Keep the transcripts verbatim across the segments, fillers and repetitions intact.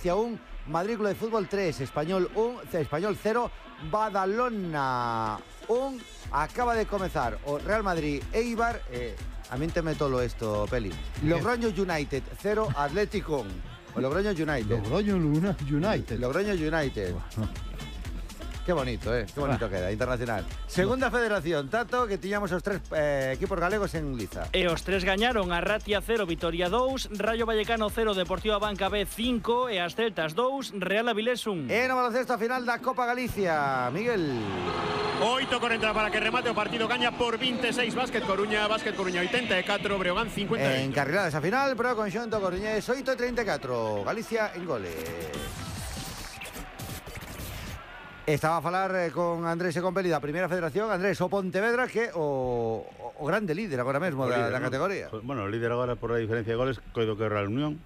un, Madrid Club de Fútbol tres, Español un, Español cero, Badalona un. Acaba de comenzar o Real Madrid Eibar, eh, a mí te meto lo esto, Peli. Logroño United cero, Atlético un. O Logroño United. Logroño United. Logroño United. Qué bonito, eh? Qué bonito ah. queda, internacional. Segunda federación, Tato, que tiñamos os tres eh, equipos galegos en liza. E os tres gañaron, a Ratia cero, Vitoria dous, Rayo Vallecano cero, Deportiva Banca B cinco e as Celtas dous, Real Avilés un. E no baloncesto a final da Copa Galicia, Miguel. oito corenta para que remate o partido, gaña por veintiséis Básquet Coruña, Básquet Coruña ochenta e catro, Breogán cincuenta e oito. Encarriladas a final, pero con xonto Coruñés oito treinta e catro, Galicia en goles. Estaba a falar eh, con Andrés e con Peli da Primeira Federación. Andrés, o Pontevedra que o, o grande líder agora mesmo da, líder, da categoría. ¿no? Bueno, o líder agora por a diferencia de goles, coido que é Real Unión.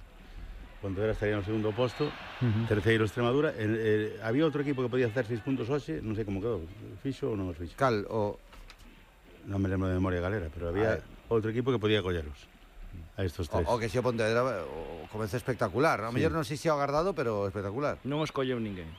Pontevedra estaría no segundo posto, uh-huh. terceiro Extremadura. Eh, eh, había outro equipo que podía hacer seis puntos hoxe, non sei como quedou, fixo ou non os fixo. Cal, o... Non me lembro de memoria galera, pero había outro equipo que podía colleros a estos tres. O, o que se o Pontevedra o comece espectacular, a sí. mellor non sei se o agardado, pero espectacular. Non os colleu ninguén.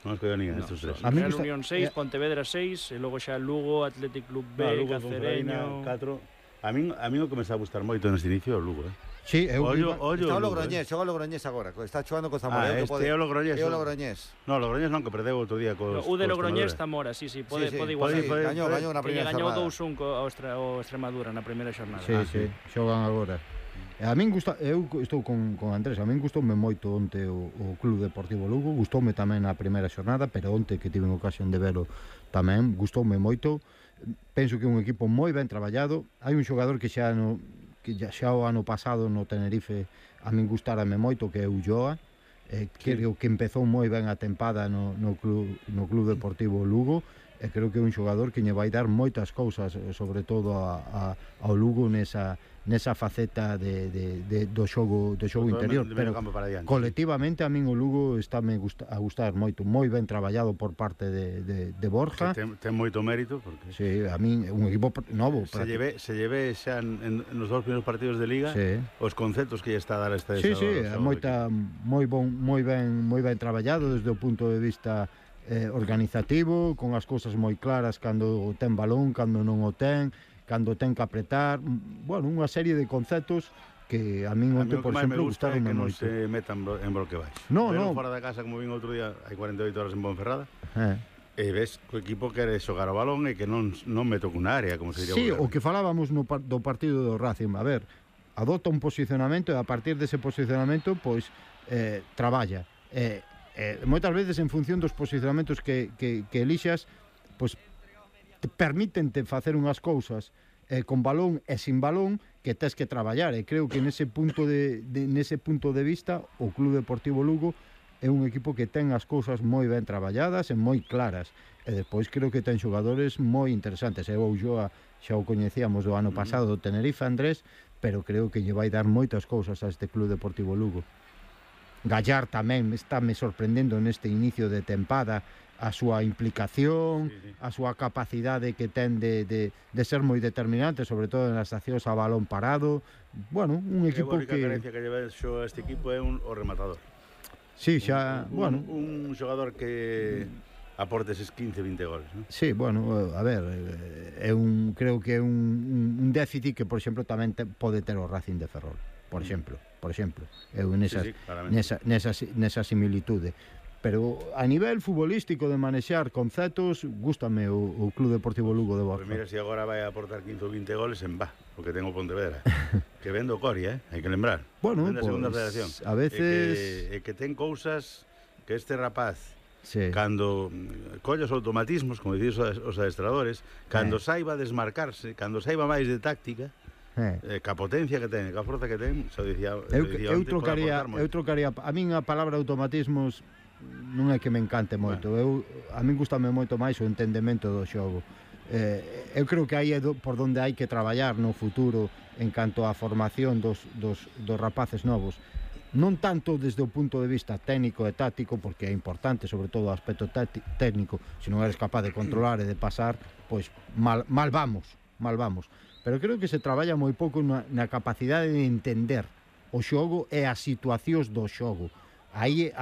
Non os colleu ninguén no, estos tres. A Real gusta... Unión seis, Pontevedra seis, e logo xa Lugo, Athletic Club B, no, Lugo, Cacereño... catro. A min, a min o que me está a gustar moito neste inicio é o Lugo, eh? Sí, eu ollo, ollo, está o Logroñés, xoga o Logroñés agora, está xogando co Zamora. Ah, este pode... é o Logroñés. É o Logroñés. No, o Logroñés non, que perdeu outro día co no, o de Logroñés Zamora, sí, sí, pode, sí, sí. pode igualar. Sí, sí, gañou, gañou na primeira xornada. Gañou dous un co o Extremadura na primeira xornada. Sí, ah, sí, sí, xogan agora. A min gusta, eu estou con, con Andrés, a min gustoume moito onte o, o Club Deportivo Lugo, gustoume tamén na primeira xornada, pero onte que tive ocasión de velo tamén, gustoume moito. Penso que é un equipo moi ben traballado. Hai un xogador que xa no que xa o ano pasado no Tenerife a min gustárame moito, que é Ulloa. Eh, sí. Creo que empezou moi ben a tempada no, no, club, no Club Deportivo Lugo, e creo que é un xogador que lle vai dar moitas cousas, sobre todo a, a, ao Lugo nesa, nesa faceta de, de, de, do xogo, do xogo interior, pero colectivamente a min o Lugo está me gusta, a gustar moito, moi ben traballado por parte de, de, de Borja. Ten, ten moito mérito porque sí, a min un equipo novo. Se lleve, se lleve xa en, en nos dous primeiros partidos de Liga, sí. Os conceptos que lle está a dar esta Sí, sí, moita moi bon, moi ben, moi ben traballado desde o punto de vista Eh, organizativo, con as cousas moi claras cando ten balón, cando non o ten, cando ten que apretar, bueno, unha serie de conceptos que a min onte, por exemplo, gustaron moito. moito. Que non se metan en bloque baixo. No, no. Fora da casa, como vin outro día, hai cuarenta e oito horas en Ponferrada, eh. e ves que o equipo quere xogar o balón e que non, non me toca unha área, como se diría. Sí, o que falábamos no par, do partido do Racing, a ver, adopta un posicionamento e a partir dese posicionamento, pois, eh, traballa. Eh, Eh, moitas veces en función dos posicionamentos que, que, que elixas, pois te permítente facer unhas cousas eh, con balón e sin balón que tes que traballar, e creo que nese punto de, de, nese punto de vista o Club Deportivo Lugo é un equipo que ten as cousas moi ben traballadas e moi claras, e despois creo que ten xogadores moi interesantes. Eu o Ulloa xa o coñecíamos do ano pasado do Tenerife, Andrés, pero creo que lle vai dar moitas cousas a este Club Deportivo Lugo. Gallar tamén está me sorprendendo neste inicio de tempada, a súa implicación, sí, sí. a súa capacidade que ten de, de, de ser moi determinante, sobre todo nas accións a balón parado. Bueno, un equipo que... A única carencia que lleva xo este equipo é un, o rematador. Sí, xa, un, bueno... Un, un xogador que aporte eses quince, vinte goles, ¿no? Sí, bueno, a ver, é un, creo que é un, un déficit que, por exemplo, tamén te, pode ter o Racing de Ferrol, por exemplo. por exemplo, eu nesas, sí, sí, nesa, nesa, nesa similitude. Pero a nivel futbolístico de manexar conceptos, gústame o, o Club Deportivo Lugo de Borja. Pues mira, se si agora vai a aportar quince ou vinte goles en va, porque ten o Pontevedra. Que vendo Coria, eh? Hai que lembrar. Bueno, pues, segunda federación. A veces... E que, e que ten cousas que este rapaz, sí. cando colla os automatismos, como dicís os adestradores, cando eh. saiba desmarcarse, cando saiba máis de táctica, Eh. Eh, ca potencia que ten, ca forza que ten, xa dicía, eu, dicía eu trocaría, eu trocaría, a min a palabra automatismos non é que me encante moito. Bueno. Eu a min gustame moito máis o entendemento do xogo. Eh, eu creo que aí é do, por onde hai que traballar no futuro en canto á formación dos, dos, dos rapaces novos. Non tanto desde o punto de vista técnico e táctico, porque é importante, sobre todo o aspecto técnico, se non eres capaz de controlar e de pasar, pois mal, mal vamos, mal vamos. Pero creo que se traballa moi pouco na, na capacidade de entender o xogo e as situacións do xogo. Aí a